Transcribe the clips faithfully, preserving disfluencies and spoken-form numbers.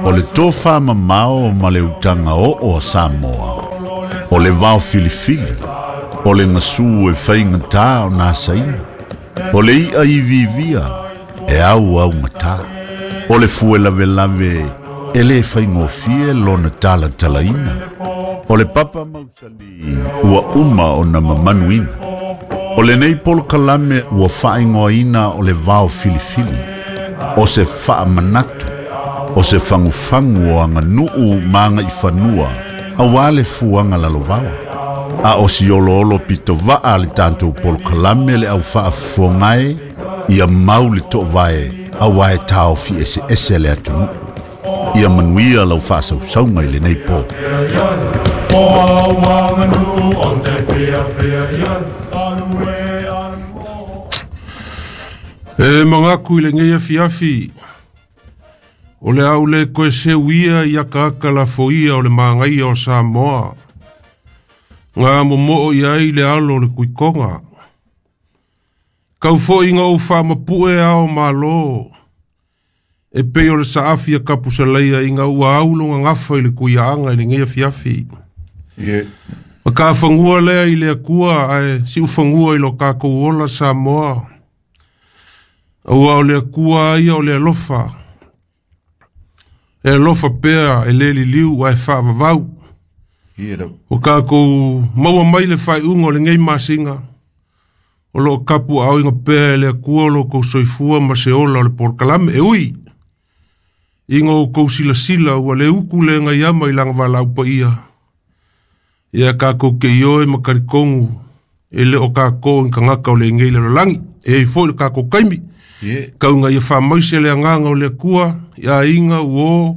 O le tofa mamao ma le utaga oo a Samoa. O le vao filifili, o le gasu e faigatā ona asaina. O le i'a iviivia e auaugatā. O le fue lavelave e lē faigofie lona talatalaina. O le papa mausali ua uma ona mamanuina. O lenei polokalame ua faaigoaina o le vao filifili. O se faamanatu, o se fagufagu o aganuu ma agaifanua auā le fuaga lalovaoa. A o si oloolo pitovaa le tatou polokalame le au faafofogae ia mau le toovae auā e taofi eseese le atunuu. Ia manuia lau faasausauga i lenei po. E mangaku i lenei afiafi, o le au le koe seuia i akaaka lafoia o le magaia o Samoa. Ngā momoo i ai le alo o le kuikonga. Kau foi ngā ou whaamapue ao malo. E pei o le saafi a kapusalaia i ngā ua aulo ngā ngafa i le kuiaanga i le ngea fiafi. Yeah. Ma ka whangua lea i le akua ae si uwhangua i lo kākou ola Samoa. Aua o le akua ia o le alofa. E alofa pea e le liliu ae whaavavau. O kākou maua mai le whaiunga o le ngei masinga. O lo kapu au inga pea e le akua o lo kou soifua ma se ola o le polokalame e ui. Inga o kou silasila ua le uku le ngai ama i langa walau pa ia. Ia kākou ke ioe makarikongu e le o kākou in kangaka o le ngei le lolangi. E i foi le kākou kaimi. Yeah. Kaunga ia whamaise le anganga o le akua, ia inga uo,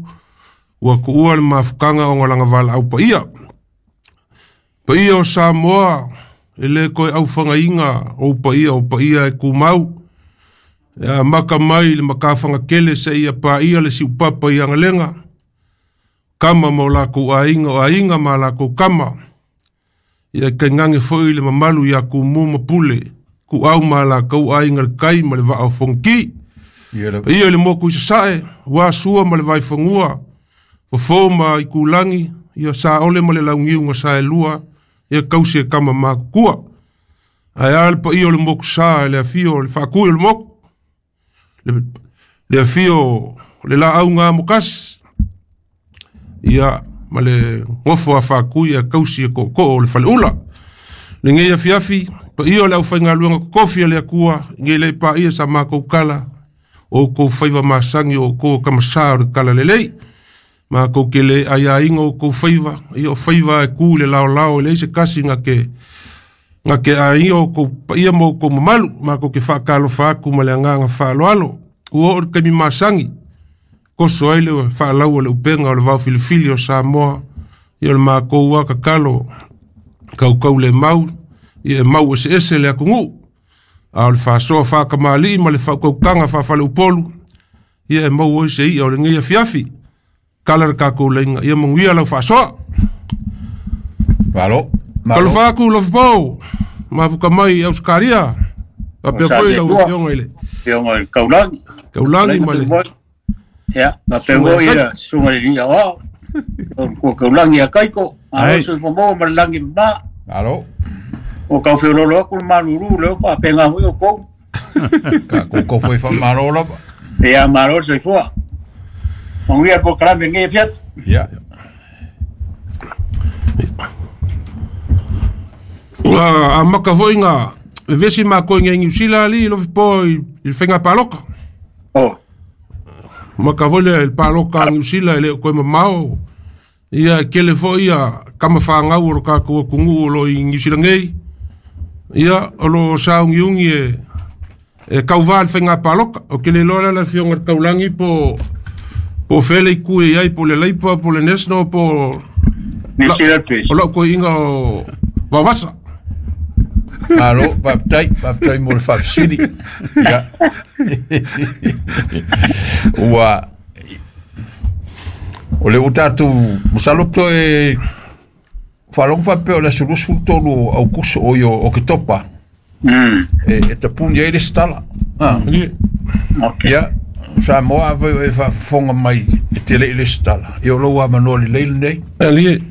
ua kuua le mafukanga o ngalanga walau pa ia. Pa ia o Samoa, e le koe au whangainga o pa ia o pa ia e kumau. Ia maka mai le makawhanga kele se ia pa ia le siupapa i angalenga. Kama ma o lākou ainga o ainga ma lākou kama. Ia kai ngange foi le mamalu ia kumu mapule. Ku au ma lākou ainga le kai ma le vaa o fonki. Yeah. Ia le moku i sasae, ua sua ma le vaifangua. Fofo ma i kulangi, ia sa ole ma le laungiu nga sa e lua. Ia kausi e kama makukua. Ae a le pa ia o le moku sa, le afio, le whaakui o le moku. Le, le afio, le la au ngā mokasi. Ia, ma le ngofo a whaakui a kausi e koko o le whaleula. Le ngei afiafi, pa ia o le au whainga luanga kokofi a le akua, ngei le pa ia sa mākou kala, o kou whaiva masangi o kou kamasa o le kala lelei. Mākou ke le aia inga o kou whaiva, ia o whaiva e ku le lao lao e leise kasi ngā ke, ngā ke a inga o kou pa ia mo kou mamalu, mākou ke whaakalo whaaku ma le anganga whaaloalo. Ua o le kaimi masangi, koso ai le whaalau o le upenga o le vau filifili o Samoa, ia o le mākou ua kakalo, kaukau le mau, ia e mau ese ese le akungu. A o le whaasoa whaakamali ma le whaukaukanga whaafale upolu, ia e mau oi se ia o le ngei afiafi. Kala le kākou leinga, ia manguia lau whaasoa. Malo. Malo. Kalo whaaku lofipau, mafuka mai Auskaria. Papea foi lau fionga ile. Fionga i Kaulangi. Kaulangi ma le. Ia, papea foi ila sunga i lia o. O Kaulangi a Kaiko. Alo sui whamou ma le langi ma. Alo. O kau whiololo aku le maluru leo pa penga hui o kou. Ka koukou foi whamaro lava. Ia, malo sui fua. Manguia po kalame ngei fiat. Ia. A maka foi ngā vesi mā koe ngei Niu Sila ali lofi po i le whenga paloka. Oh. Maka foi le paloka a Niu Sila e le koe mamao. Ia kele foi ia kama whangau o lo kākou kungu o lo i Niu Sila ngei. Ia o lo saungi ungi e, e kauvā le whenga paloka. O kele loa la fionga kaulangi po po fele i kue iai po le Leipa, po le National, po New Zealand Fish. O lau koe inga o Vavasa. Malo, whaptai, whaptai mo le whapsiri. Ia. Ua, o le o tātou, masalo e whalonga whapea o le sulusu tolu au kuso o i o Oketopa. Mm. E, e tapuni ai le stala. Ah. Yeah. Okay. Ia, Samoa avai o e faafofoga mai e te le'i le setala ia o lou avanoa lelei lenei Ali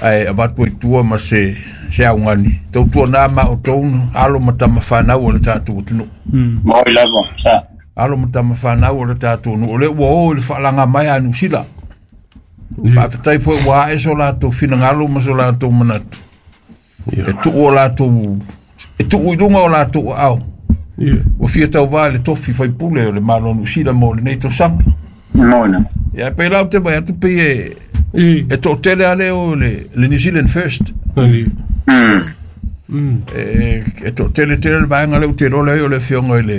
ae avatu ai tua ma se se augani tautuanā ma outou alo ma tamafanau o le tatou atunuu Moi lava sa. Alo ma tamafanau o le tatou nuu o le ua o i le faalaga mai a Niusila faafetai foi ua ae so latou finagalo ma so latou manatu e tuu o latou e tuu i luga o latou aao ua fia tauvā i le tofi faipule o le Malo o Niusila mo lenei tausaga Moi na. ia pei lau te vai atu pei e e to'atele a lea o le le New Zealand First Ali Mm. e e to'atele tele le vaega lea ou te iloa ai o le afioga i le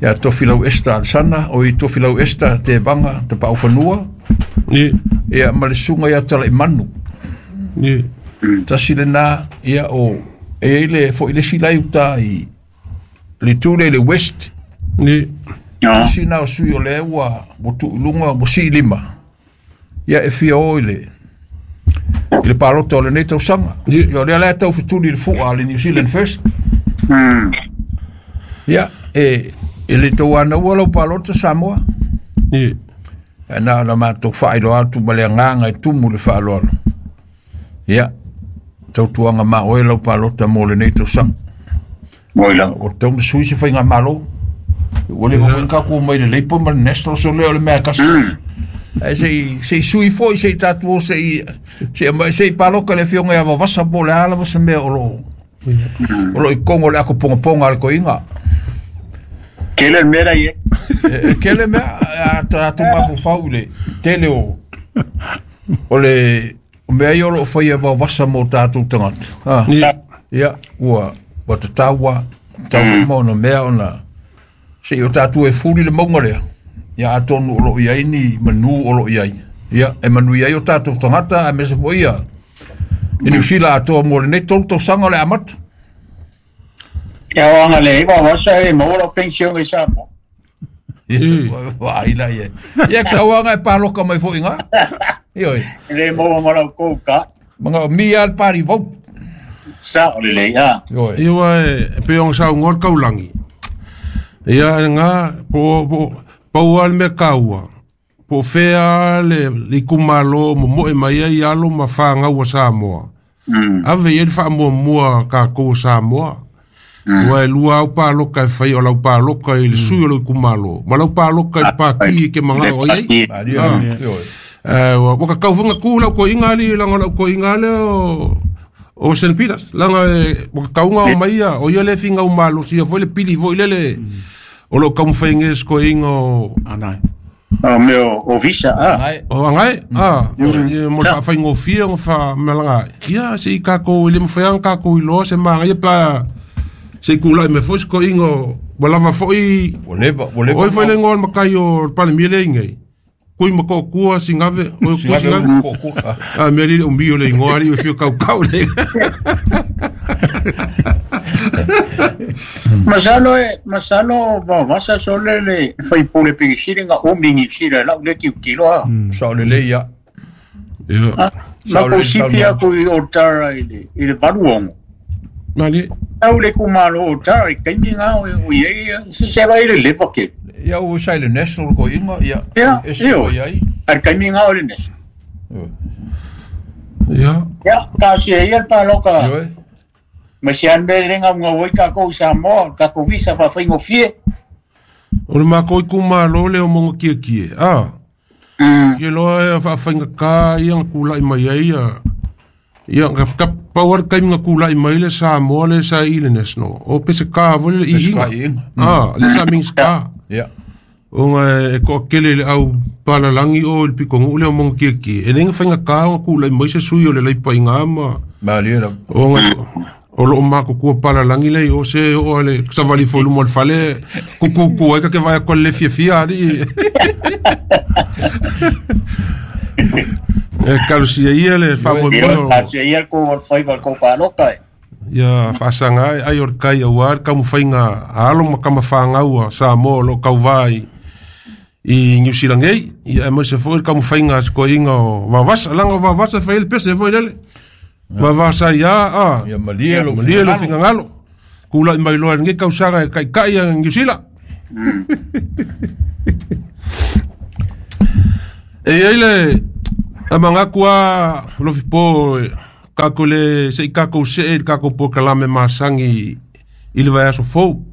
ia Tofilau Esther Alesana o i Tofilau Esther Tevaga Tapaufanua ia ma le susuga ia Talaimanu tasi lenā ia o e iai le fo'i le isi lai uta i le itu lea i le West Ah. isi na o sui o lea ua ua tuuiluga ua siilima ia e fia o i le i le palota o lenei tausaga ia o lea la e taufetuli i le fu'a a le New Zealand First Mm. ia e e le tauanaua lau palota Samoa ae na ona matou faailoa atu ma le agaga e tumu le faaaloalo ia tautuaga ma oe lau palota mo lenei tausaga Moi lava. o tau na sui se faiga malo ua le mafai ona tatou mai le Labour ma le National so lea o le mea e kasi ae sei sei sui foi sei tatou o sei sei mai sei paloka le afioga ia Vavasa po o le a lava se mea o lo o lo i kogo o le ako pogapoga a le koiga Kele le mea la ie. e e kele mea a tatou mafaufau i le tele o o le o mea ia o loo faia e Vavasa mo tatou tagata ah Sa. ia ua ua tataua tatau foi ma ona mea ona sei o tatou e fuli le mauga lea ia atonu o loo iai ni manu o loo iai ia e manuia ai o tatou tagata aemaise foi ia i Niu Sila atoa mo lenei tolu tausaga o le amata Ia o anga le iwa wasa e maua lau pension i Samoa. vaai la ia ia tauaga e paloka mai foi gā ioi Le maua ma lau kou ka. maga mi a le party vote Sa o le lei ah. ioi Ia ua e pe ong sau ngor kaulangi. Ia ngā po po pau a le mea kaua. Po fea le le itumalo mo moe mai ai alo ma whāngau a Samoa. Mm. Ave i le whaamuamua ka kou Samoa. Ua e lua au pāloka e whai o lau pāloka i le sui o lau itumalo. Ma lau pāloka i le pāki e ke manga o iai. Malie ioi Eh, ua ua kakaufunga ku lau ko inga li langa lau ko inga le o o Saint Peters langa e ua kakaunga o mai ia o ia le finga o malo sia foi le pili foi le le o lo kaumwhainge ko inga o Anai. O mea o visa ah. ai o angai ah e mo fa fa ngofia ngo fa melanga ia se i kako i le mwhaianga kako i loa se manga ia pa se kula i me foi ko inga ua lava foi ua leva ua leva Oi foi le ngoa makai o pale mile ingai. Kui mako kua singave, oi kua singave. Ah. A mea lile umbi o le ingoa li o fio kau kau le. Masalo e masalo Vavasa sole le faipule pegisili nga umi ni sila lau le kiu kilo ah. Sa o lelei ia Ia. Ma Sa o ko le sifi saunoaga. aku i o tara i le i le valuongo. Mali. Au le kumalo o tara i kaimi ngā o o iei se se vai le lepa ke. ia ua sa i le National ko inga ia Ia, e se io. o iai Ar kaimi ngā o le nes. Ia. Ia, ka se ia le paloka. ioi Ma se an me renga mga wai ka kou Samoa, ka kou visa fa whaingo fie. O le mako i kumalo le o mongo kia kie. Ah. Mm. Kia loa e whaawhainga ka ia nga kula i mai ai ia. Ia nga ka pawar kai nga kula i mai le Samoa le sa i le National. O pese ka vole le i Pese inga. ka i inga. Ah, le sa mings ka. ia O nga e ko kele le au palalangi o le pikongu le o mongo kia kie. E lenga whainga ka nga kula i mai se sui o le leipa i ngā ma. malie la O nga o loo mako kua palalangi lei o se o le savali fo lumo le fale kuku ku ai ka ke vai ko le fia fia ali. E kalusia ia le fa mo Ia, mo ka se ia kou o whai kou paloka e. ia faasanga ai ai o le kai auā le taumafaiga a alo ma kamafāgau a Samoa o loo kauvā i i Niu Silangei ia aemaise foi le taumafaiga a sekoaiga o Vavasa laga o Vavasa e fai ai le pese foi lele Vavasa ai a a ia malie lo malie lo finagalo kulaʻi mai loa i lenei tausaga e kaʻikaʻi a Niu Sila E ai le amangaku a Lofipo kako le se kako se kako po kalame masangi i le vaiaso fou.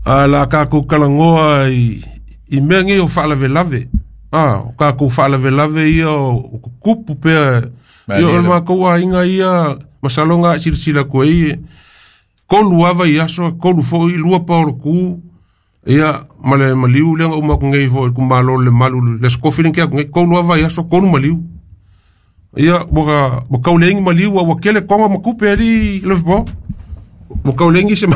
A la kako kalangoa i i mea nei o faalavelave. Ah, o kako faalavelave ia o kukupu pea ia o le makou aiga ia masaloga silasila koe kolu ava i aso kolu foʻi lua paolo ku ia ma le maliu lea uma aku nei foʻi kumalo le malu le skofi le ke aku kolu ava i aso kolu maliu ia ua ua kauleigi maliu ua kele koga ma kupe ali Lofipo ua kauleigi se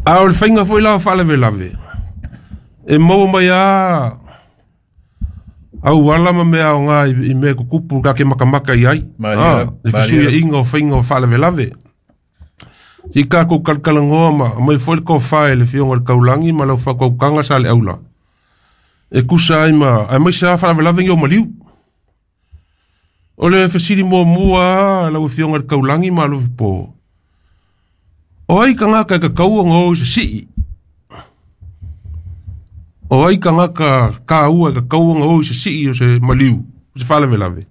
a o le faiga foʻi la o faalavelave e maua mai a au ala ma mea o ngā i mea kukupu ka ke makamaka i ai. Ah, le fesuia inga o whainga o faalavelave. Ti kako kalkalangoa ma, mai foi le kōwhae le fionga le kaulangi ma lau whakaukanga sa le aula. E kusa ai ma, ai mai sa faalavelave ngi o maliu. O le fesili mua mua lau fionga le kaulangi ma lau po. O ai kangaka e kakau o ngō i se sii. O ai kangaka ka ua ka kauanga o se sii o se maliu, o se faalavelave.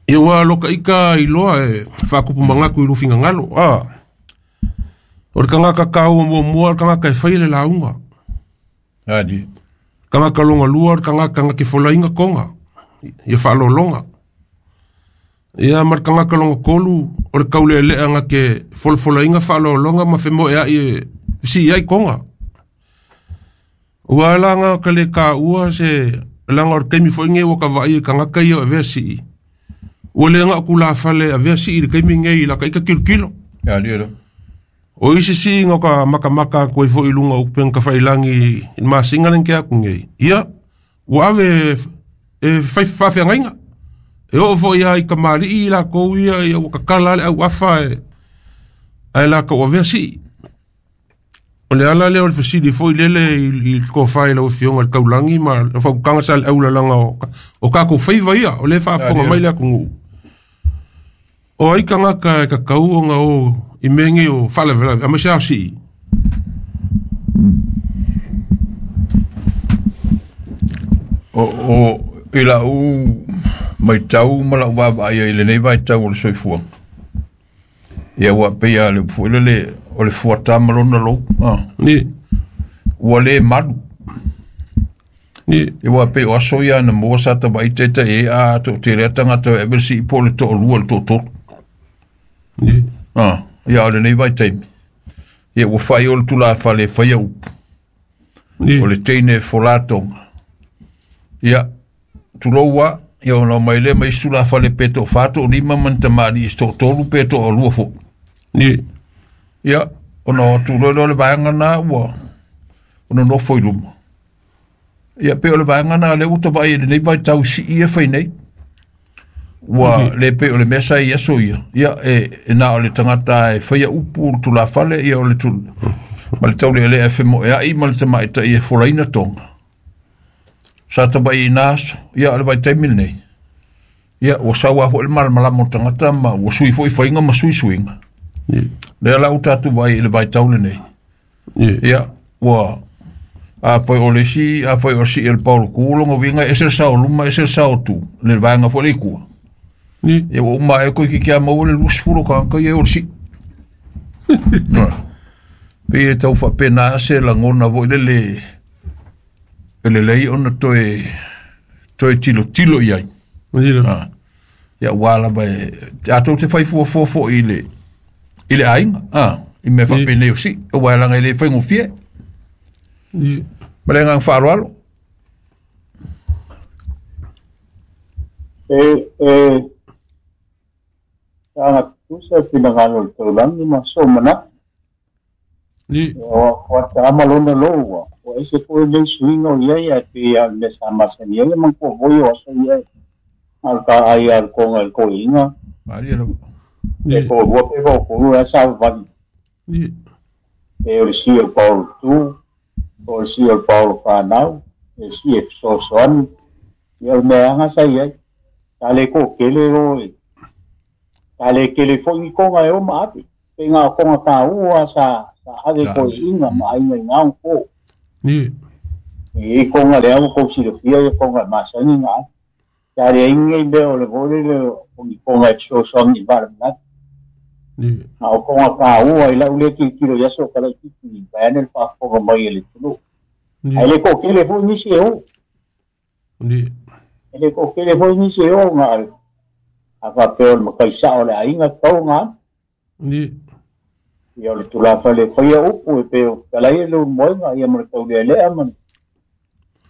Ia ua loka ika i loa e whaakupu mangaku i lufinga ngalo. Ah, o le kangaka ka ua mua mua, o le kangaka e whai le launga. Adi. Kangaka longa lua, o le kangaka nga ke folainga konga, ia whaalolonga. Ia ma le kangaka longa kolu, o le kaule lea nga ke folofolainga whaalolonga ma whemo e ai e si ai konga. Ua langa ka le ka ua se langa o le kaimi fo inge waka vai e kangaka ia o avea sii. Ua le nga ku la fale avea sii le kaimi ngei la ka ika kilo kilo. Ia lio. O isi sii nga ka makamaka koe fo ilunga upenga ka whailangi i masinga lenge aku ngei. Ia, ua ave e whaiwhawhia ngainga. E o fo ia i ka maali i la kou ia ia wakakala le au afa e ai la ka ua sii. O le ala lea o le fesili foi lele i le kōwhai lau fionga le kaulangi ma le whaukanga sa le aulalanga o, o kako whaiva ia o le whaafonga mai le aku nguu. O ai kangaka e kakau o ngā o i menge o faalavelave, ama se ao sii. O, o i la u mai tau ma lau vava ia i lenei vai tau o le soifuaga. Ia ua pei a le upu foi lele o le fuatā ma lona lou. Ah. Ni. Ua le malu. Ni. Ia ua pei o aso ia na mua sa tavaʻi taitaʻi ai a toʻatele a tagata e ave le sii po o le toʻalua le toʻatolu. Ni. Ah. Ia o lenei vaitaimi. Ia ua faʻi o le tulafale e faia upu. Ni. O le teine e folātoga. Ia tuloua ia ona mai le mai isi tulafale pe toʻafā toʻalima ma ni tamaliʻi se toʻatolu pe toʻalua foʻi. Ni. Ia ona o atu loa le vaega na ua ona nofo i luma. Ia pe o le vaega na le ua tavaʻi i lenei vaitau sii e fai nei. Ua le pe o le mea sa i aso ia. Ia e, e na o le tagata e faia upu le tulafale ia o le tul ma le taulealea e femoʻeaʻi ma le tamaʻitaʻi e folaina toga. Sa tavaʻi i nā aso ia o le vaitaimi lenei. Ia ua sau a foʻi le malamalama o tagata ma ua sui foʻi faiga ma suisuiga. Ni. Lea la u tatu vai i le vaitau lenei. Ni. Ia ua a foi o le isi a foi o sii e le paolo ku longa uiga e ese le sao luma ese le sao tu le vaega foi le ikua. Ni. Ia ua uma e koe ki kia maua le luasefulu tagata ia e o le sii. Pei e tau faapena se lagona foi lele e lelei ona toe toe tilotilo i ai. Ni. Ah. Ia ua lava e atou te fai fuafua foʻi i le i le aiga ah i mea faapenei o sii aua e laga e lē faigofie. Ni. Ma le agaga faaaloalo. E e aga tusa finagalo le taulagi ma so manatu. Ni. O o ta lona loua. O ese foi le suiga o ia ia pe a le sa masani ia man ko voi o so ia. Al ka ai al konga el koinga. Maria lava. E Ni. ko ua pe ko ko ua sa vali. Ni. E o le si o Paulo tu, o le si o Paulo whanau, e si e sosoani. Ia o mea anga sa ia. Ta le ko kele o e. Sa le kele foi ni konga e o maape. Pe ngā konga tā ua sa, sa ave Sa ko ave. inga ma ainga i ngā ko. Ni. E konga le au ko silofia e konga masani ngā. Sa le inga i mea o le vole le o ni konga e fesoasoani i valavilave. Ni. A o konga tā ua i lau le kilokilo i aso kala i titi i vaeane le faafofoga mai e le atunuu. Ni. Ae le toatele foi nisi e o. Ni. E le toatele foi nisi e o ngā a faapea o le makaisao o le aiga tatau ngā. Ni. Ia o le tulafa le faia upu e pe o talai e le ulumoega ia ma le taulealea ma le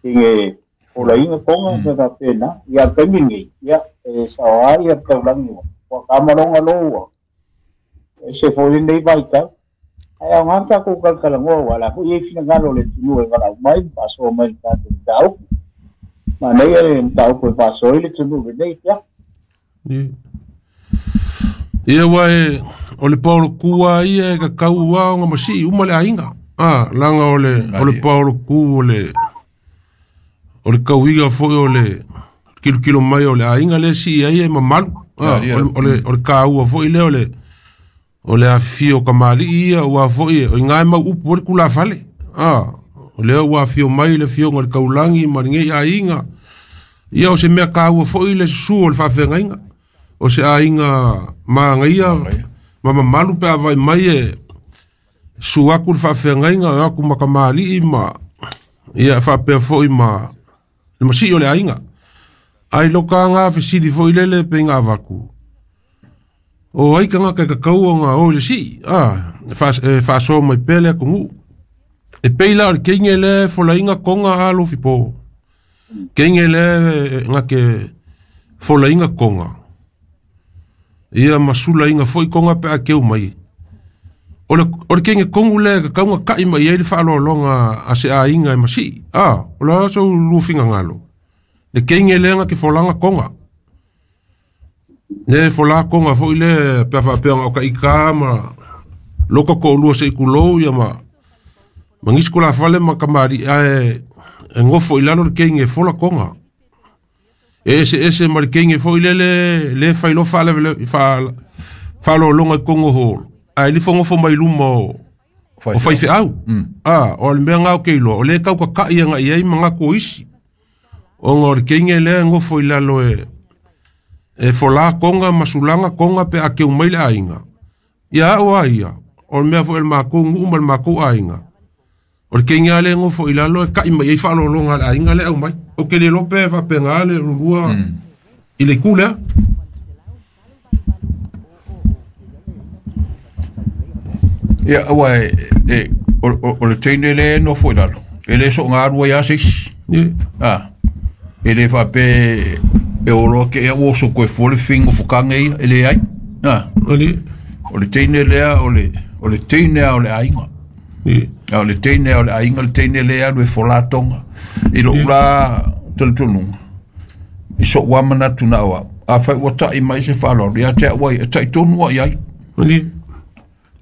tige folaina konga ma faapena. Ia le taimi lenei, ia e saoa ia le taulagi ua ua kamaloga lou ua ese foi lenei vaitau. Ae aoga le tatou kalakalanoa ua la foi i ai finagalo o le atunuu e valaau mai ma faasoa mai le tatou mataupu. Manaia le mataupu e faasoa ai le atunuu lenei ia. Ni. Ia ua e o le paolo kua ia e kakau ua o ngā masii uma le ainga. Ah, langa o le o le paolo ku o le o le kauiga foi o le kilokilo mai o le aiga le si ai e mamalu. Ah, o le o le o le kaua foi le o le o le afio kamali ia ua foi o ngai mau upu o le kula fale. Ah, o le ua afio mai le fio le kaulangi ma ngai aiga. Ia o se mea kaua foi le susu o le faafeagaiga. O se aiga magaia ma mamalu pe avai mai e su aku le faafeagaiga o aku makamali'i ma ia faapea foi ma le masii o le aiga. Ai loka fesili foi lele pe ngā avaku. O ai kanga ka kakau o ngā o le sii. Ah, faasoa mai pea le atunuu. E pei la o le keinge le folainga konga a lofi po. Keinge le ngā ke folainga konga. Ia masula inga foi konga pe a keu mai. O le, o le keinge kongu le ka kaunga kai mai ai le whaalolonga a se a inga e masi. Ah, o le aso lufinga ngalo. Le keinge le nga ke folanga konga. Le fola konga foi le pe whaapea o ka ika ma loka ko ulua se ikulou ia ma mangisiko la fale ma kamari ae e ngofo i lalo le keinge fola konga. E ese ese ma le keinge foi le le le whailo whaale whaalolonga i kongo holo. Ae li whangofo mai luma o o whaiwheau. Ah, o le mea ngau kei loa. O le kau ka kai anga i ai manga ko isi. O ngā o le keinge lea ngofo i lalo e e fola konga masulanga konga pe a keu mai le ainga. Ia o a ia. O le mea fo el mākou ngu ma le mākou ainga. O le keinge ale ngofo i lalo e kai mai ei whaalolonga le ainga le au mai. O ke le lope whapenga le rurua i le kulea. Ia aua e, e o, o, o le teine le no foi lalo. E le so ngā rua ia seisi. Ni. Ah. E le whape e oro ke e oso koe fole fingo fukanga ia, e le ai. Ah. Ani. O le teine lea o le o le teine o le ainga. Ni. A o le teine o le ainga, le teine lea le folatonga. I lo ula talitonunga. I so wamana tuna oa. A whai ua tai mai se whaloro. Ia te awai, e tai tonu ai ai. Ani.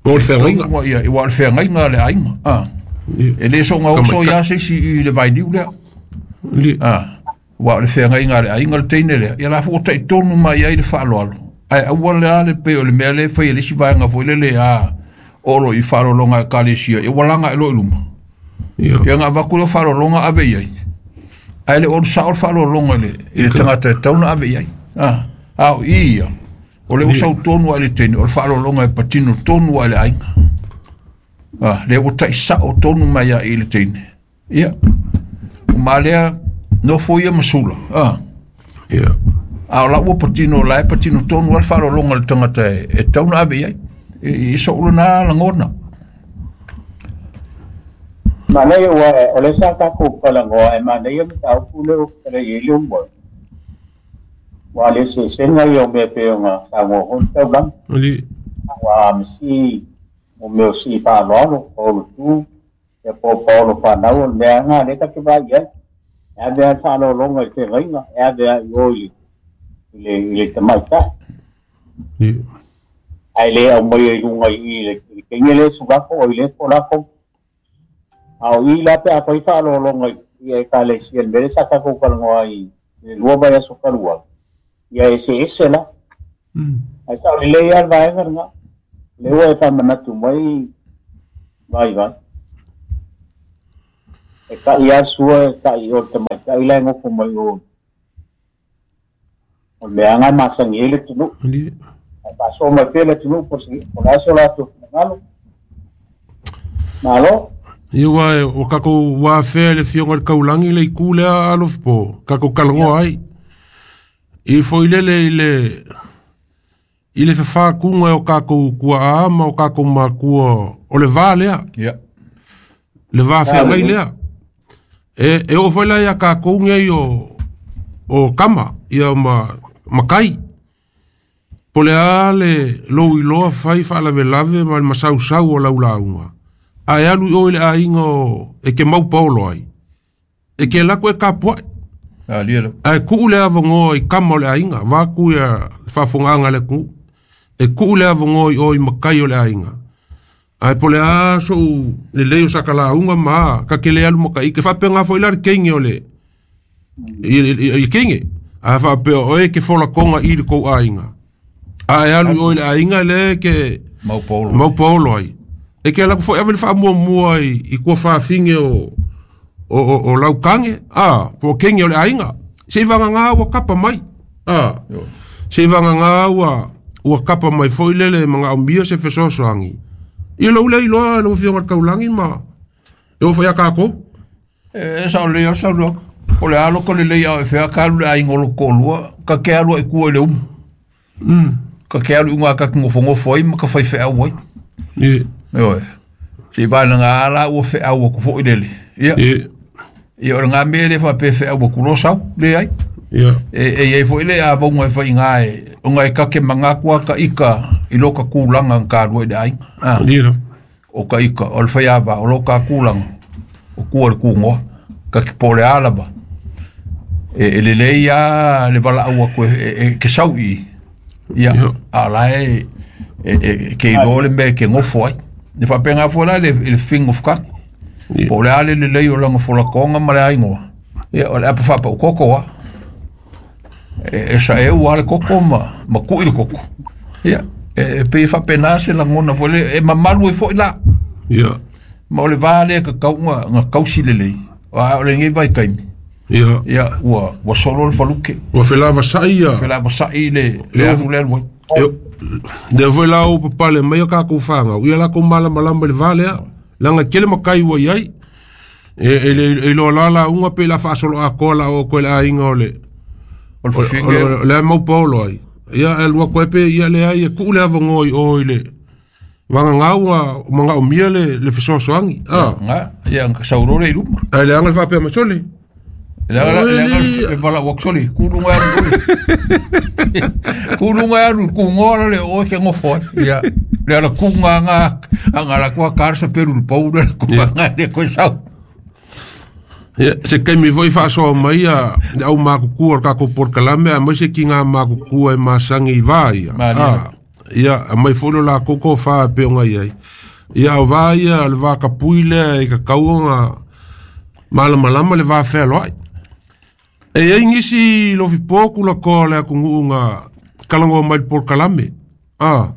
O le whengainga. Tonu ai ai, ua le whengainga le ainga. Ah. Ni. E le so ngā oso ia se si i le vainiu lea. Ni. Ah. Ua le whengainga le ainga le teine lea. Ia la fua tai tonu mai ai le whaaloalo. Ai aua le ale pe o le mea le whai e le si vaenga foi le le a oro i whaalolonga e kalesia. Ia walanga e lo i luma. Ia. Ia ngā vaku le whaalolonga ave i ai. Ai le oro sa o le whaalolonga le i le tangata e tauna ave i ai. Ah. Ao i ia. O le usau tonu ai le teine. O le whaalolonga e patino tonu ai le ainga. Ah, le o tai sa o tonu mai ai i le teine. Ia. O malea no foi ia masula. Ah. Ia. A o la ua patino la e patino tonu ai le whaalolonga le tangata e, e tauna ave i ai. E, i so ula nā langona. Manaia ua o le sa takou kalangoa e manaia mataupu le o kala i le umoi. Ua le sesenga ia o mea pe o ngā sagoa hoi taulagi. Ani. Ua masi o mea o si whaaloalo, paolo tu, ia po paolo whanau, o le mea ngā le take vai ai. E avea whaalolonga i te rainga, e avea i o i le, i le tamaitai. Ni. Ai le au mai i lunga i le, i le keinge le sugako o i le polako. A o i la pe a pai whaalolonga i e ka le si el mere sa takou kalangoa i le lua vai aso kalua. Ia ese ese la. Ai sa le lei al vaega lena le ua e faamanatu mai vai vai e ta'i a sua e ta'i o le tamaita'i lae gofo mai o o le meaga e masagi ai le atunuu ae faasoa mai pea le atunuu po o le a so latou finagalo malo. Ia ua e o kakou ua afea i le afioga i le kaulagi le itu lea alofi kakou kalagoa ai i foi lele i le i le fefākuga e o kakou kuaʻā ma o kakou makua o le vā lea Ia. Le vā feagai lea e e oo foi la iā kakou nei o o kama ia ma makai po le a le lou iloa fai faalavelave ma le masausau o laulauga ae alu i o i le aiga o e ke mau paolo ai e ke lako e kapuaʻi Alia le. ae kuʻu le avanoa i kama o le aiga vaku ia le faafogaaga a le atunuu e kuʻu le avanoa i o i makai o le aiga ae po le a soʻu lelei o sakalauga ma ka ke le alu makaʻike faapega foi la le keige o le i i keige ae faapea oe ke folakoga i le kou aiga ae alu i o i le aiga le ke Mau paolo. mau paolo ai e ke ala foi ave le faamuamua i i kua faafige o o o, o laukange a po keige o le aiga se i vagagā ua kapa mai a se i vagagā ua ua kapa mai foi lele magaʻomia se fesoasoagi ia lou lea iloa lau afioga i le kaulagi ma e oo foi ia kakou. E sa o le o sa lo. O le alo ko le lei au e fea ka alu le aiga o lo koʻolua ka ke alu ai kua i le umu. Ka ke alu i uga ka ke gofogofo ai ma ka faifeau ai. Ie Ioe. Se i valaga la ua feau aku foʻi lele. Ia. Ie Ia o le gā mea le faapea feau aku lo sau leai. Ia E e iai foʻi le avauga e faiga e ona e kake magaku a ka ika i lo ka kulaga na kalua i le aiga. Ah. Ie la O ka ika o le faiava o lo ka kulaga o kua le kugoa ka ke po le a lava. E e lelei a le valaau aku e, e, e ke sau i. Ia Ia. a la e e, e ke iloa le mea e ke gofo ai. Le faapega foi la le le fingo fukagi. Ia. Po o le a le lelei o lana folakoga ma le aigoa. Ia o le apa faapau koko a. E, e saʻeu a le koko ma ma kuʻi le koko. Ia e, e pei e faapena se lagona foi le e mamalu ai foʻi la. Ia Ma o le vā lea kakauga ga kausi lelei. A o lenei vaitaimi. Ia Ia ua ua solo le faluke. Ua felavasaʻi ia Felavasaʻi le le Ia. alu le alu ai. E lea foi la o papale mai o kakou fagau ia lakou malamalama i le vā lea laga tele makai ua iai e e le e iloa la lauga pe la faasoloʻakoa la oo koe le aiga o le O le o fafine o le mau paolo ai ia e alua koe pe ia leai e kuʻu le avanoa i o i le vagagā ua magaʻomia le le fesoasoagi a ga ia ga saulo le i luma. ae leaga le faapea mai sole Le aga le aga Oi. e valaau atu soli kuluga e alu kuluga e alu kugoa la le oe ke gofo ai. Ia le ala kuga ga aga la kua kar sa peru le pau le kuga ga le koe sau. Ia, se kaimi foi faasoa mai ia le au makukua o le kakou polokalame aemaise se kigā makukua e masagi i vā ia Malie. a ia aumai foi lo lakou tofā e pei ona i ai ia o vā ia o le vakapui lea i kakauga malamalama le va fealoaʻi e iai nisi lofipō kulakoa o le atunuʻu kalagoa mai le polokalame a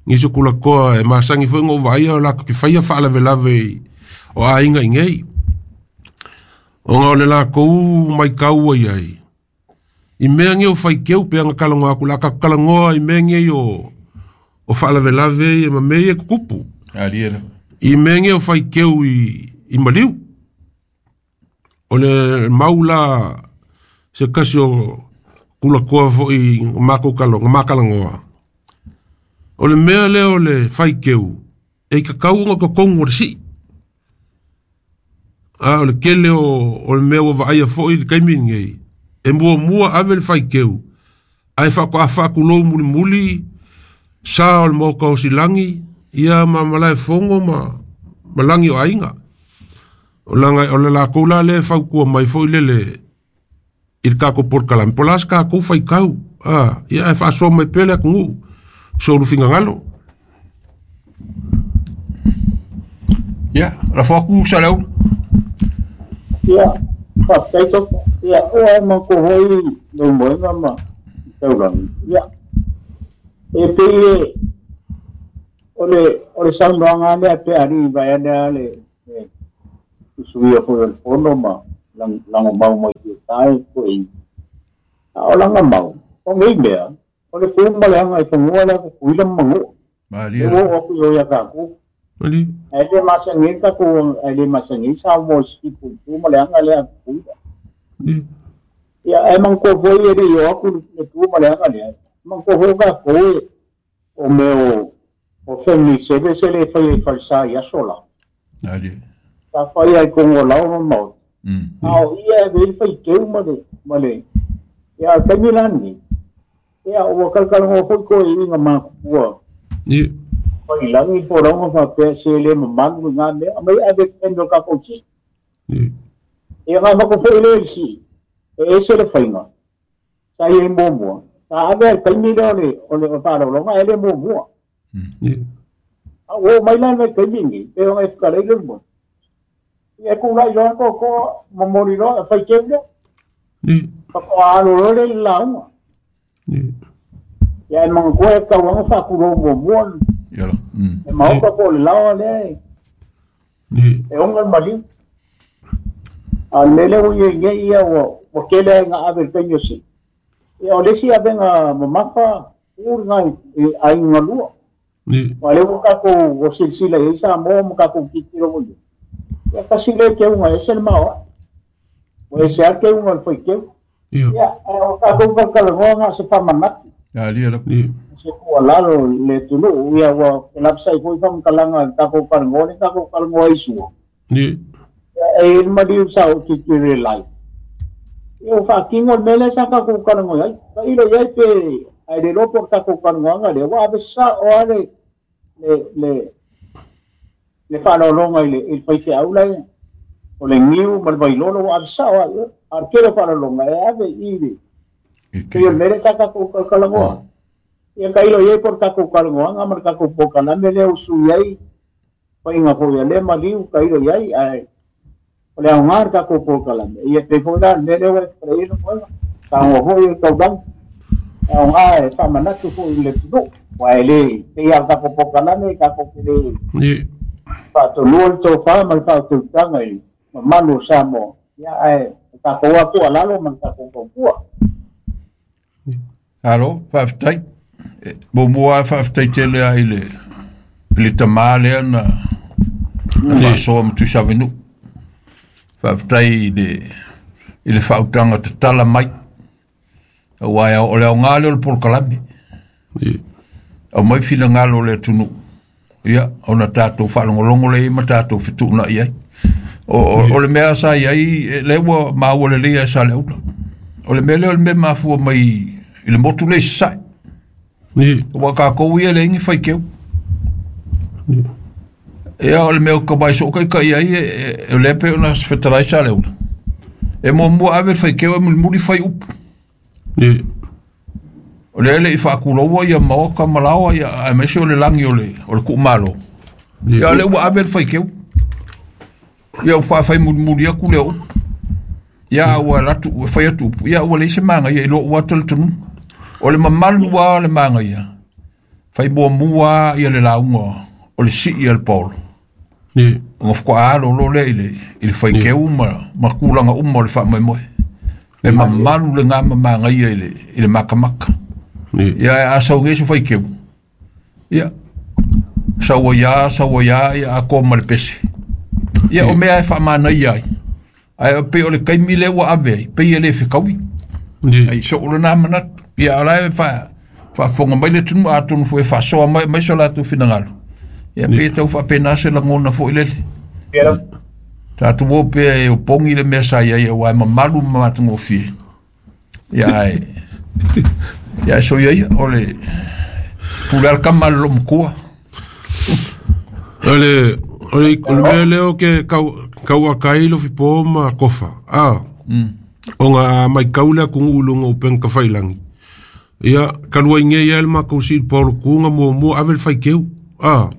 nisi o kulakoa e masagi foi ga ou vaaia o latou te faia faalavelave i o aiga i nei ona o le lakou maitau ua iai i mea nei o faikeu pe aga kalagoa aku la ka kalagoa i mea nei o o faalavelave ia ma mea ia e tutupu Alia le. i mea nei o faikeu i i maliu o le mau la se kasi o kulakoa foʻi makou kalo makalagoa o le mea lea o le faikeu e kakau ona totonu o le siʻi a o le kele o o le mea ua vaaia foʻi i le taimi lenei e muamua ave le faikeu ae faatoa faakulou mulimuli sa o le maoka o silagi ia ma malae fogo ma ma lagi o aiga o laga o le lakou la lea e fautua mai foʻi lele i le kakou polokalame po o le a se kakou faikau a ia ae faasoa mai pea le atunuu so lufigagalo. Ia la fo aku sa lau. Ia faafetai topa ia o ae makou foi lou moega ma taulagi ia E pei o le o le saunoaga lea pe alii vaeane le usuia foi o le fono ma lagomau mai tai foi. A o lagamau, o nei mea, o le tu ma le aga i fanua lea kukuila ma manu'a. Malie. E ua oo aku i o ia tatou. Malie. Ae le masagi tatou, ae le masagi Samoa i sikipu i tu ma le aga lea a Kukuila. Ia ae manatua foi e le'i o aku le tu ma le aga lea, manatua foi tatou e o mea o o family service e le faia i falesa i aso la. Malie. Sa faia i kogo o lao ma maota. Mm. A o ia e ave ai le faiteu ma le ma le ia a o le taimi la lenei. Ia ua kalakalagoa foi koe i iga makupua. Ia. Failagi po o lauga faapea se le mamalu i ngā mea, aumai ave i taimi o le tatou sii. Ia. Ia ngā mako foi lea i le sii, e ese le faiga, sa i ai muamua, sa ave ai le taimi lea o le, o le faaaloaloga ae le muamua. Ia. A ua oo mai la le vaitaimi lenei, pei ona e fetalai le luma, ia e kula'i loa le toatoa, momoli loa, e faiteu lea. Ia. Faatoa alo loa lea i le lauga. Ia. Ia e manatua e tatau lava ona faatulou muamua Ia la. Mm. le maota po o le laoa lea e Ia. e oga le maliu. A o le mea lea ua i ai nei ia ua ua tele ai ina ave i le taimi o sii. Ia o le isi avega mamafa uu lena i i aiga galua. Ia. Aua o lea ua tatou ua silasila i ai Samoa ma tatou tilotilo foi i ai. Ia tasi lea teuga e ese le maoae. Ua ese lava le teuga o le faiteu. Ia. Ia ae o tatou talatalanoa na o se faamanatu. Alia la. Ia. Se tuualalo i le atunuu, ia ua lapsai foi faamatalaga i le tatou talanoa lea tatou talanoa ai sua. Ia. Ia e i ai le maliu sa ou tilotilo i le live. Ia ua faatino le mea lea sa tatou talanoa ai. Tailo i ai pe ae le iloa po o le tatou talanoaga lea ua ave sa'o lava le le le le faaaloaloga i le i le faifeau la e o le niu ma le vailolo ua ave sa'o lava i o. A o le tele o faaaloaloga e ave i le I pei o le te. mea lea sa tatou talatalanoa. Ia tailo i ai po o le tatou talanoaga ma le tatou polokalame lea ua sui ai faiga foi a lea maliu tailo i ai ae o le aoga o le tatou polokalame. Ia pei foi la le mea lea ua e fetalai ai le moega. Tagoa foi o le taulaga. E aoga e faamanatu foi i le atunuu. Aua e le pei lava o le tatou polokalame tatou te le Ia. faatonua le tofa ma le faautautaga i le mamalu o Samoa. Ia ae o tatou lava tuualalo ma le tatou tautua. Alo, faafetai. E, muamua lava faafetai tele lava i le i le tamā lea na na faasoa ma Tuisavenuu. Faafetai i le i le faautaga tatala mai. Auā e o le aoga lea o le polokalame. Ia. Aumai finagalo o le atunuu. Ia, ona tatou faalogologo lea i ai ma tatou fetuunai ai. O, o, o le mea sa i ai, e, lea ua maua lelei ai sa le aula. O le mea lea o le mea mafua mai i le motu lea i Sasae. Ia. Ua kākou ia leai ni faikeu. Ia o le mea o ka mai soo kai ai e, e, o lea pei ona fetalai sa le aula. E muamua ave le faikeu e mulimuli fai upu. Ia. O lea le i faakuloua ia maoka ma laoa ia aemaise o le lagi o le o le kuumalo. Ia o lea ua ave le faikeu. Ia ua faafai mulimuli aku lea o upu. Ia ua alu atu ua fai atu upu. Ia ua leai se magaia i lou ata le tunuga. O le mamalu lava o le magaia, fai muamua lava ia le lauga o le sii a le paolo. Ia. Ona faatoa alo loa lea i le i le faikeu ma ma tulaga uma o le faamoemoe. E mamalu lena ma magaia i le i le makamaka. Ia. Ia a sau nei se faikeu. Ia sau ai lava, sau ai lava, ia atoa ma le pese. Ia o mea e faamanaia ai. Ae pei o le taimi lea ua ave ai, pei e le fetaui. Ia. Ai soo lena manatu. Ia o la e faa faafofoga mai le atunuu atonu foi e faasoa mai mai so latou finagalo. Ia pei e tau faapena se lagona foi lele. Ia. Tatou o pea e opogi le mea sa i ai auā e mamalu ma matagofie. Ia ae ia ae soia ia o le pule a le kama a le loomatua. O le o le o le mea lea o ke kau kauaka ai lofipo ma kofa. A. Ona a maitau le atunuu i luga o upega tafailagi. Ia talu ai nei ai le matou sii i le paolotuga muamua ave le faiteu. A.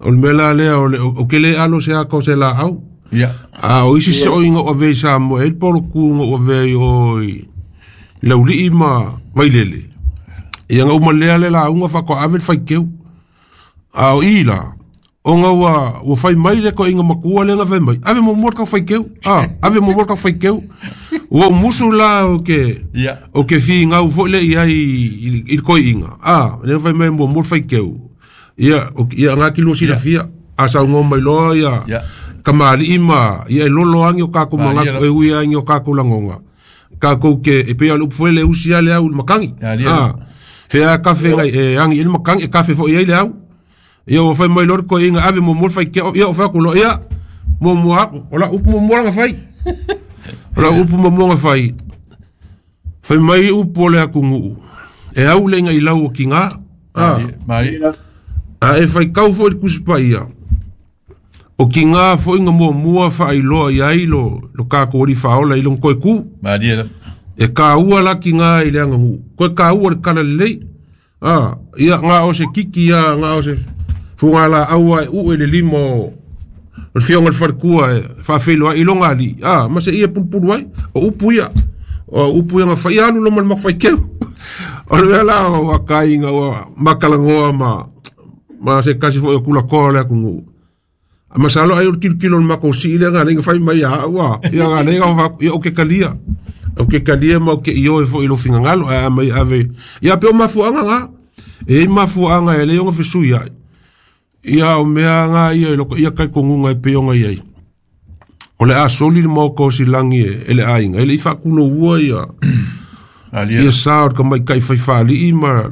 O le mea la lea o le o ke le alo se ata o se laau. Ia. A o isi so'oiga o avea i Samoa e ai le paolotuga o avea i o i Laulii ma Vailele. Ia nga uma lea le lauga faatoa ave le faiteu. A o i la, ona ua ua fai mai le toeaina matua lea na fai mai, ave muamua le tau faiteu. Ah, ave muamua le tau faiteu. Ua ou musu la o ke Ia. o ke figau foi lea i ai i i le toeaina. Ah, lea na fai mai muamua le faiteu. Ia, o ia nga ki lua silafia. A saunoa mai loa ia Ia. kamali'i ma ia e lolo agi o kākou Malie manatu e ui agi o kākou lagoga. Kākou ke e pei o le upu foi le usi a le au i le makagi. Malie. Ah, fea kafe ngai e agi i le makagi e kafe foi ai le au. Ia ua fai mai loa le toeaina ave muamua le faiteu. Ia o fai atu loa ia muamua aku. O lau upu muamua lana fai. O lau upu muamua na fai. Fai mai upu o le atunuu. E au le iga i lau o kigā. Ah. Malie. Malie. A e faitau foi le Tusi Paia. O kigā foi na muamua faailoa i ai lo, lo kākou alii faaola i lona toe kū. Malie. E kāua la kigā i le aganuu. Koe kāua le kala lelei. Ah, ia ngā o se kiki ia, ngā o se fugalaau a e ue le lima o o le fioga le falekua e faafeiloai i loga alii. Ah, ma se ia pulupulu ai. O upu ia. O upu ia na fai alu lo ma le mafaikeu. O le mea la o akaiga ua makalagoa ma ma se kasi foi o kulakoa o le atunuu. A masalo ai o le kilokilo o le makou sii lea na fai mai ia au a. Ia na leiga o fa- ia o ke kalia. O ke kalia ma o ke ioe foi i lo finagalo ae a mai ave. Ia pe o mafuaaga ga. E i mafuaaga e le ona fesui ai. Ia o mea nga ia i loko ia talitonuga e pei ona i ai. O le a soli le maoka o silagi e, e le aiga. E le i faakuloua ia Malie. ia sa o le tamaita'i faifaalii ma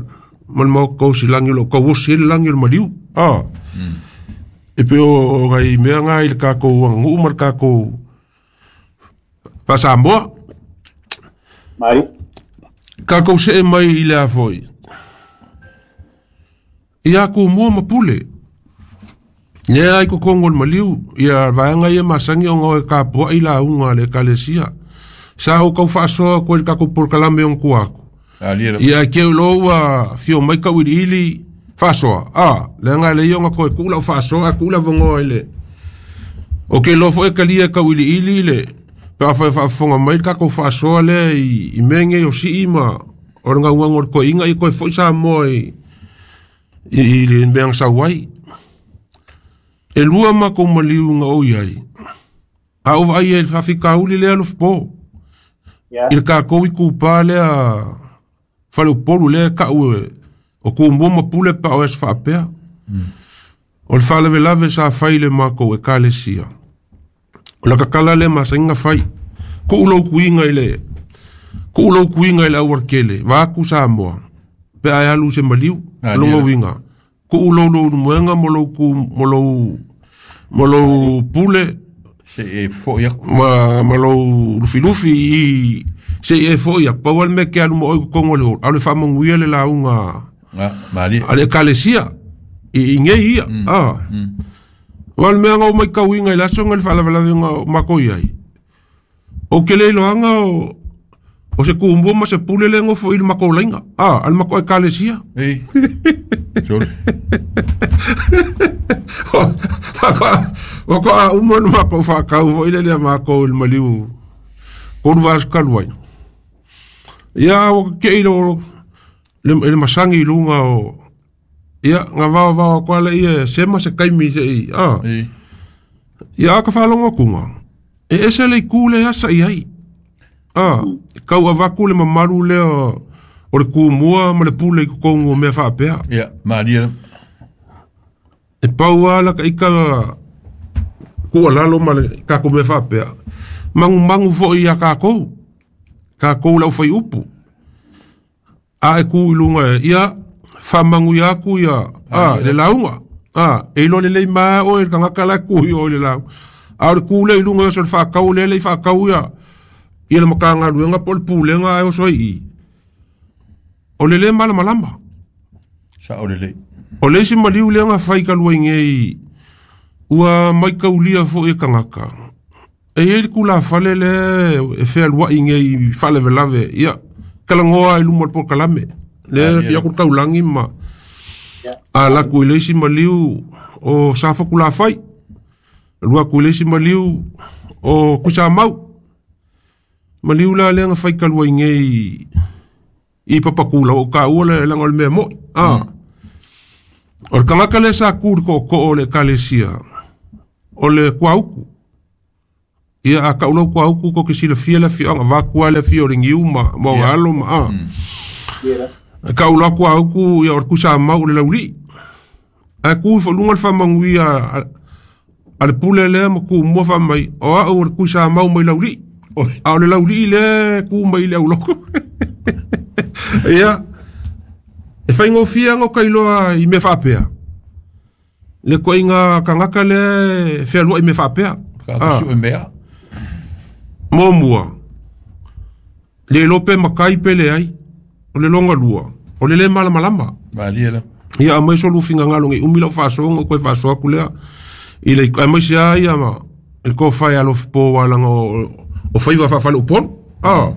ma le maoka o silagi o loo tauosi ai le lagi o le maliu. Ah. E pei o o nai mea ga i le kākou aganuu ma le kākou faasamoa. Mari. Kākou see mai i le a foi. Ia kumua ma pule. Lea ai kokogo o le maliu, ia vaega ia masani ona o e kapua'i lauga a le ekalesia. Sa ou kaufaasoa koe le takou polokalame ona tua aku. Malie. Ia ke lo ua fio mai kauiliili faasoa. Ah, leaga e leai ona toe tuu lau faasoa ae tuu le avanoa i le. O ke loa foi e kalia e kauiliili le pe afai e faafofoga mai le takou faasoa lea i, i mea nei o sii ma o le gaugaga o le toeaina ia toe foi Samoa i, i, i le mea na sau ai. E lua makou maliu na ou iai. A ou vaai ai i le faafitauli lea Alofapo. Ia. I le kākou i kupā lea faleupolu lea e kau e o kumua ma pule pa o aso faapea. O le faalavelave sa fai le makou ekalesia. O la kakala le masaiga fai. Kuu lou kuiga i le kuu lou kuiga i le aualatele, vaeatu Samoa. Pe a e alu i se maliu, Ah, o longa lia. uiga. Kuu lou lou moega ma lou ku ma lou ma lou pule Se e foi aku. ma ma lou lufilufi i se i e foi aku. Pau lava le mea e te alu ma oe i totonu o le holo, a o le faamanuia le lauga Ah, malie. a le ekalesia i, i nei ia. Ah. Wa le mea na ou maitauina i le aso na le faalavelavega o makou i ai. Ou ke le iloaga o o se kumua ma se pule le gofo i le makou laiga. Ah, a le makou ekalesia. Ei. Sole. Ua to'a uma ona makou faakau foi le lea makou i le maliu tolu vaiaso talu ai. Ia ua keke'i lo le, le masagi i luga o ia gavaovao atu a lea e sema se taimi se'i a. Ei. Ia a ka faalogo atuga, e ese le itū lea e asa'i ai. A, kau avatu le mamalu lea o le kumua ma le pule i totonu o mea faapea. Ia, malie. E pau lava la taʻika tuualalo ma le tatou mea faapea. Magumagu foi iā kākou. Kākou le aufaiupu. A e kū i luga e ia faamanuia atu ia a le lauga. A e iloa lelei maea oe le tagata la e kū i o i le lauga. A o le kū lea i luga e oso le faakau lea le i faakau ia ia le matagaluega po o le pulega ae oso ai i. O le lē malamalama. Sao lelei. O le isi maliu lea na fai talu ai nei ua maitaulia foi e tagata. E iai le tulafale lea e fealua'i nei faalavelave ia talanoa i luma o le polokalame. Lea fia atu le taulagi ma ala atu i le isi maliu o Safatulafai. Alu atu i le isi maliu o Tuisamau. Maliu la lea na fai talu ai nei i I papakula o ka ua le langa o le mea moi. Ah. O le kangaka le sa ku le ko'oko'o o le ekalesia o le kuauku. Ia a ka'ulau kuauku ko ke silafia le afioaga vakua le afio o le giu ma ma Ia. alo ma a. Ka'ulau kuauku ia o le kusamau o le lauli'i. Ae ku ifo luga le faamanuia a a le pule lea ma kumua faamai o a'u o le kusamau mai lauli'i. A o le lauli'i lea ku mai i le auloko. Ia e faigofie aga o kailoa i mea faapea. Le koiga kagaka lea e fealua'i mea faapea. Ka Ah. su e mea. Muamua, le iloa pe makai pe leai, o le loga lua, o le lē malamalama. Malie la. Ia aumai so lufigagalo gai umi lau faasoaga ou koe faasoa aku lea i le aemaise a ia ma le tofae alofipo alaga o o faiva faafale upolu. Ah.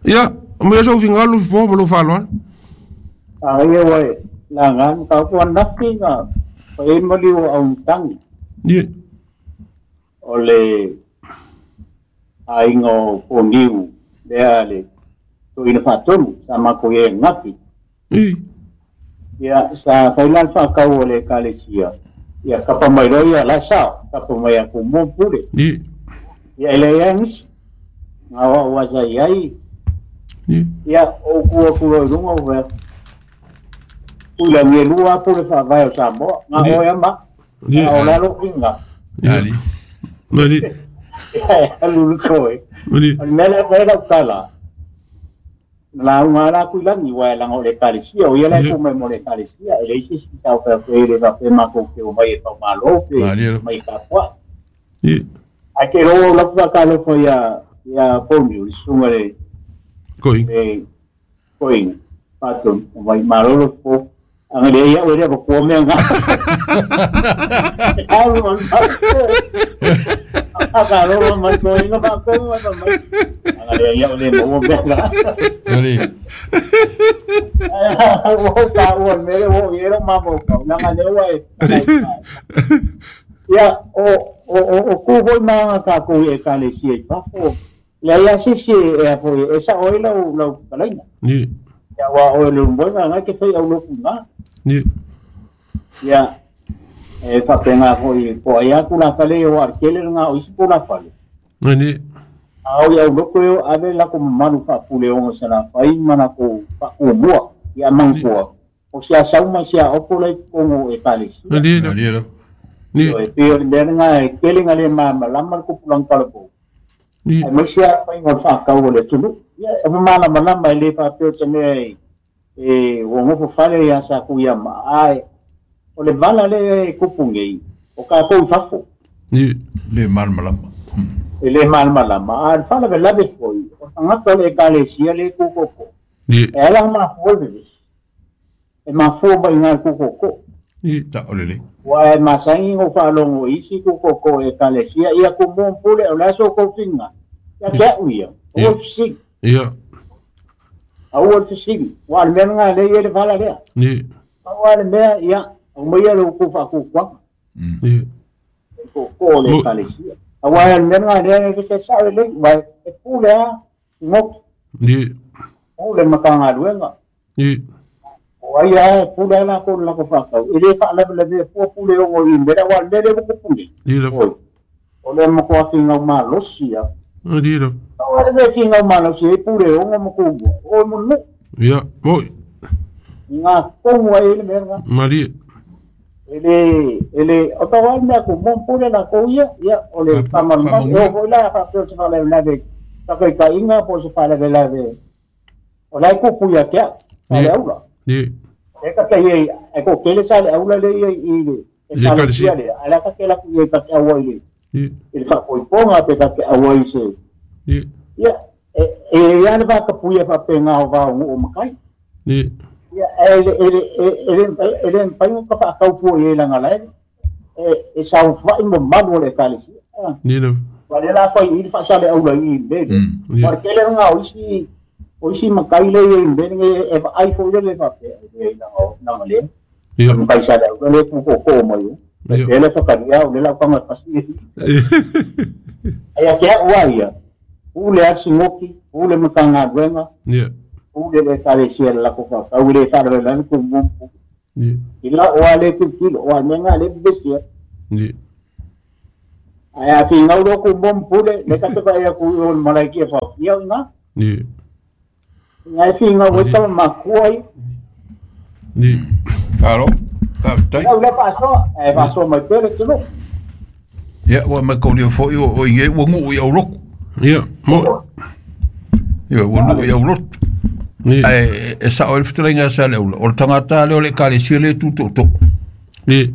Ia, aumai so ufigagalo lufipo ma lou faaaloalo. A ia wai la ngan ka ko nafi nga pa mali o au tangi Ia. o le aiga o Poniu lea le toina faatonu sa mako ia ngafi. I. Ia sa faila le faakau o le ekalesia. Ia kapa mai loa ia la sao, kapa mai aku mo pule. Ia. Ia ele ia ngisi. Ngā wa wa sa iai. Ia. Ia o ku aku lo i lunga o wea. Ula nge lua pule faavae o Samoa. Ngā Ia. o ia ma. Ia. Ngā o lalo inga. Ia. Ali. Mali. Ia lulu toe. Mali. O le mea lea fai lau tala. La unga la kui langi wa langa o le ekalesia. O ia la Ia. ku mai mo le ekalesia. E le isi si tau whea koe le wa pe mako ke o mai e pau malo pe Malie. mai ka pua. Ia. Ai ke ro la pua ka lo ia ia Poniu, le sunga le Koi. le koinga. Patun, o mai malolo po. Anga le ia o le ko ko me nga. Au man. Anga lo mai koinga pa ko mai mai. Anga le ia o le mo me nga. Ali. O ta o me le o era ma mo ka. Nga le wa e. Ia o o o o ku hoi ma ka ko e ka le si e pa fo. Le ia si si e fo e sa oi lau lau kalaina. Ia. Ia wa o le mo nga ke fai au lo ku nga. Ia. Ia e faapega foi po ai aku la fale o ar kele nga o isi po la fale. Mali. A o ia loko e ave la ko manu fa pule o se la fai mana ko fa o mua ia mangkoa. O sia sauma sia opo lai kongo e kale si. Mali. Malie la. Ia. O e pio le nga e kele nga le ma ma lama ko pulang kala po. Ia. Ai mo sia fai ngo fa ka o le tulu. Ia e mana mana mai le fa pio te me e o ngo fale ia sa ku ia ma ai. O le vala le kupu nei o ka kou fafo. Ia. Le malamalama. E le malamalama. A le faalavelave foi o tagata o le ekalesia le kukoko. Ia. E ala mafua le vevesi. E mafua maiga le kukoko. Ia. Ta o le le. Ua e masagi go faalogo i isi kukoko e ekalesia ia kumua pule o le aso kou figa. Ia ke a'u ia. Aua le fesili. Ia. Aua le fesili. Ua le mea lagā lea ia le vala lea. Ia. Aua le mea ia aumaia le uku faakukuaga. Ia. Koko o le Mo- ekalesia. Aua le mea lagā lea e se sa'o lelei. Ua e pule a goki. Ia. Pule ma tagaluega. Ia. O ai a e pule a lakou le lako faatau. E lē faalavelavea fua pule ogo i mea ua le le uku pule. Ia. Oi. O le makuafigau malosi a. Mali. Aua le mea figau malosi e pule ogo ma kumua. O e manu. Ia. Moi. I ngā kogu ai le mea lagā. Mali. E le, e le, o tau ai mea ku mo pule lakou ia, ia, o le Fa- faamalumalu. faamanuia. E oo foi la faapea o se faalavelave takaitaiga po o se faalavelave. O la e kupu ia te au, sa le Ia. aula. Ia. E ka te ia, e ko kele sa le aula le ia i le, e I le kalesia ekalesia. le, a la ka ke la ku ia ka te aua i le, Ia. i le faapoipoga pe ka te aua i se. Ia. Ia, e, e ia le vakapuia faapega o vaogo o makai. Ia. Ia, e le, e le, e e le, e le mpainga ka faakaupua i e laga lae, e, e saofai mamalu o le ekalesia. Ah. Ia. Wa le la fai i le faasale aula i mele. Mm. Wa le kele nga o isi, o isi makai le i mele nge e vaai foi le le faapea e le laga o laga le. Ia. Makai sale aula le kukoko mai o. Ia. E le whakaria o le lau kanga pasi. Ai a ke ua ia. Ule a singoki, ule matanga ruenga, Ia. pule le ekalesia le lakou faatau e lē faalavelave tumua ma pule ila o a lē tilotilo o a mea ga lē pepesia ae a figau loa tumua ma pule le ka te vaai aku i o le malaiki e faafia o iga iga e figau ai tama makua ia Alo, faafetai. Lau lea faasoa ae faasoa mai pea le atunuu. Ia ua mai kaulia foi o o i ua nuu i aulotu. Ia, mo. Ia ua nuu i aulotu. Ae e sao ai le fetalaiga a Saleaula, o le tagata lea o le ekalesia lea e tu tootoo. Ia.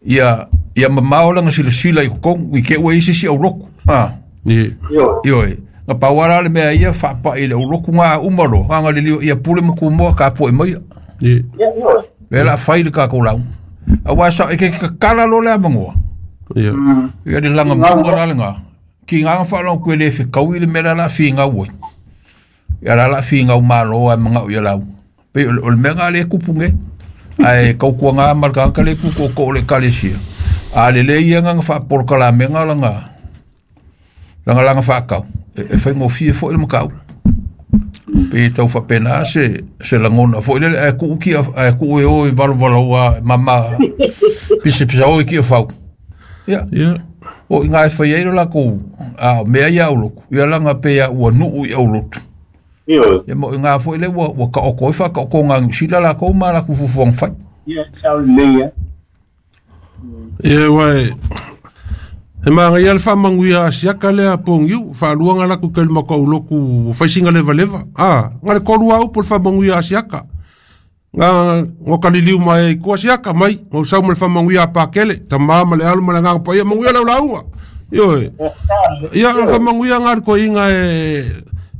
Ia ia mamao lana silasila i totonu i te i ua i ai se isi aulotu. Ah. Ia. Ioe. Na pau lava la le mea ia faapai i le aulotu na uma loa, aga lelio ia pule ma tumoa tapuai maia. Ia. Lea o le a fai le tatou lauga. Aua sao e te tatala loa le avanoa. Ia. Ia le lagamuga la lena. Tiga na faalogo atu e le fetaui le mea lea o le a finau ai. Ia la o le a finau malo ai manao ia lauga. Pei o le mea lena lea e tupu nei. Ae tautuaga ma le tagata lea e tu tootoo o le ekalesia. A lelei ia na faapolokalameina lana lana lana faatau, e faigofie foi le mataupu. Pe tau faapena se se lagona foi lele ae tuu kia ae tuu e o i valovaloa mama pisapisa o i kia fau. Ia. Ia. O iga e fai ai lo lakou a o mea ia aulotu. Ia laga pe ia ua nuu i aulotu. Ia ma o iga foi le ua ua taoto ai faataotoga a Niu Sila lakou ma latou fuafuaga fai. Ia sao lelei a. Ia ua e he magaia le faamanuia a Asiaka lea pogiu, faalua na latou kai le matou aulotu ua fai sina levaleva. A, na le tolu lava upu o le faamanuia a Asiaka. Na na kaliliu mai ai i tua Asiaka mai, na ou sau ma le faamanuia a Pakele, tama ma le alo ma le agaga paia, manuia lau lauga. Ioe. Ia, o le faamanuia na a le toeaina e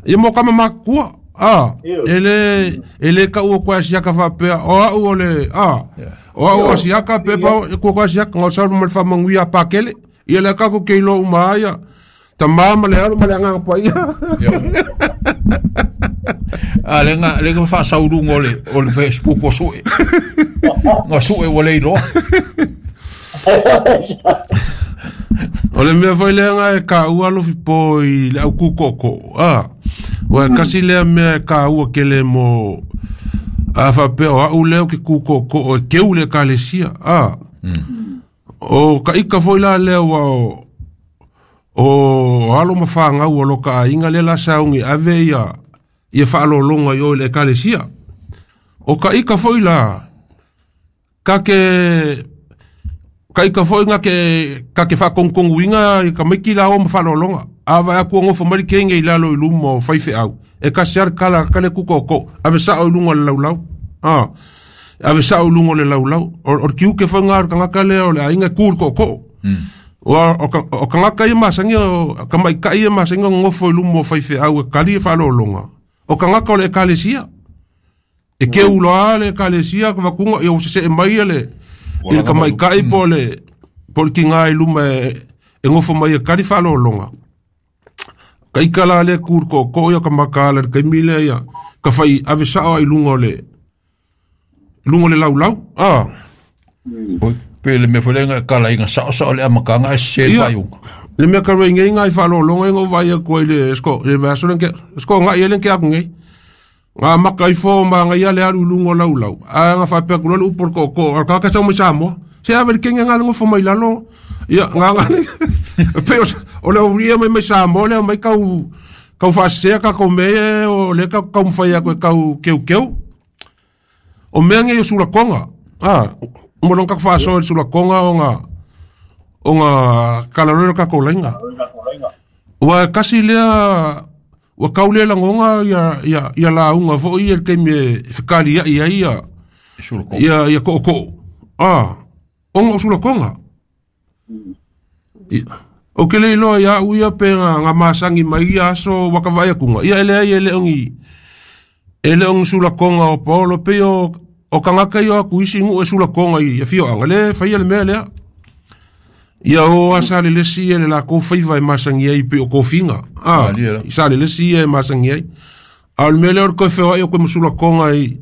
ia mo tama matutua. A, e le e le taua atu e Asiaka faapea, o au o le a, o au o Asiaka pepa e tua Asiaka, na ou sau ma le faamanuia a Pakele. Ia lea tatou te iloa uma ai ia tama ma le alo ma le agaga paia. A le ga le ga faasauluga o le o le Facebook ua sue. Ua sue ua le iloa. O le mea foi lea na e taua alofi po i le au kūkooko. A, ua e kasi lea mea e taua tele mo a faapea o au lea ou te kūkooko e keu le ekalesia. A, o ka ika foi la lea ua o o alo ma fanau o lo ka aiga lea la sauni ave ia ia faalologa i o i le ekalesia. O ka ika foi la ka ke ka ika foi nga ke ka ke whakonkonguinga i ka maiki la o ma faalologa. A vai aku ngofo mai le kenge i lalo i luma o faifeau. E kasi ale kala kale kukoko. Ave sao i lunga o le laulau. Ah. Ave sao i luga o le laulau. O, o le tiute foi ngā o le tagata lea o le aiga e ku i le kookoo. Ua o ka, o tagata ia masani o ka maitai ia masani o nofo i luma o faifeau e kali e faalologa. O tagata o le ekalesia. E keu loa le ekalesia ka vakuga ia ua sese'e mai ia le i le tamaitai po o le po o le tiga i luma e e nofo mai e kali faalologa. Ka ika la lea ku i le kookoo ia ka makaala i le taimi lea ia ka fai ave sao ai i luga o le luga o le laulau. Ah. Oi, pe le mea foi lea na e kalaina saosao le amataga ae sese le Ia, faaiuga. le mea ka rei nei ngai faalologa ina ou vaai atu ai le sko le vaiaso lea na sko agai ai lea na tea atu nei. Ga maka ifo ma ngai le alu i luga o laulau. Ae ga faapea atu loa le upu o le tootoo, a le tagata e sau mai Samoa. Se ave le kenge ga le nofo mai lalo. Ia, ga ga pei o o le aulia mai mai Samoa lea mai kau kau faasesea tatou mea ia o lea tatou taumafai atu e tau keukeu. O mea nei o sulakoga. A, mo lona tatou faasoa i le sulakoga ona ona kalaloe le tatou laina. Ua e kasi lea ua tau le lagona ia ia ia lauga foi ia i le taimi e fekalia'i ai ia Sulakoga. ia ia tootoo. A, ona o sulakoga. Ia, ou te le iloa ia au ia pe na na masagi mai ia aso ua ka vaai atuga. Ia e leai e le o ni e le o ni sulakoga o Paolo pei o o tagata ia o atu isi nuu e sulakoga i afioaga lea e faia le mea lea. Ia o a Salelesi ia le lakou faiva e masagi ai pei o kofiga. A, Malie la. i Salelesi ia e masagi ai. A o le mea lea o le toe feoai o koe ma sulakoga i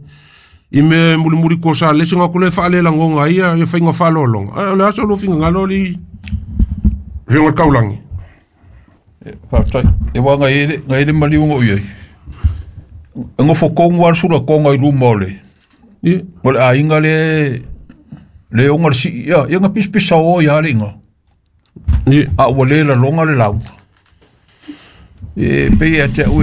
i mea e mulimuli ko Salelesi nga ku le faalelagoga ai ia ia faiga faalologa. A o le aso lo finagalo li Ringa le taulagi. Faafetai. E ua ngai ai le ngai ai le maliuga o i ai. E gofo kogu a le sulakoga i luma o le Ia. O le aiga le le oga le sii ia ia ga pisapisa o ia le iga Ia. A ua lē laloga le lauga e pei ia te a'u.